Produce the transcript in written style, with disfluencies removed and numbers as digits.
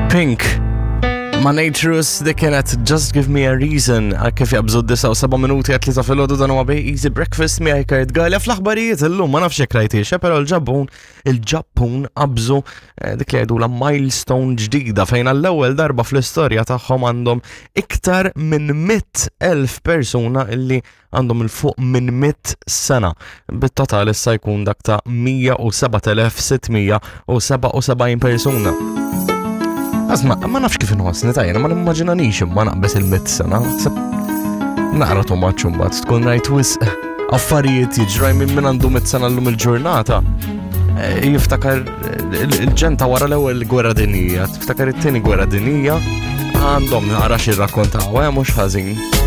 Pink ma' Naturus dik kienet Just Give Me a Reason għal kif jabżu d-9 u 7 minuti għat tlieta filgħodu dan huwa bej Easy Breakfast miegħi Kurt Galea fl-aħbarijiet illum ma nafx jekk rajtiex, eh, però l-Ġappun il-Ġappun qabżu eh, dik li jgħidula milestone ġdida fejn għall-ewwel darba fl-istorja tagħhom għandhom iktar minn 100,000 persuna illi għandhom 'il fuq minn 100 sena, bit-total issa jkun dak ta' 107,677 persuna. Asma, ma nafx kif inħossni tajjena, ma nimmaġinanix imma naqbes il-100 sena. Naqra too much imbagħad tkun rajt wisq affarijiet jiġraj minn min għandu 100 sena llum il-ġurnata. Eh, jiftakar il-ġenta wara l-ewwel gwerra dinjija, tiftakar it-tieni gwerra dinjija, għandhom naqra xi rrakkontaw, eh, mhux ħażin.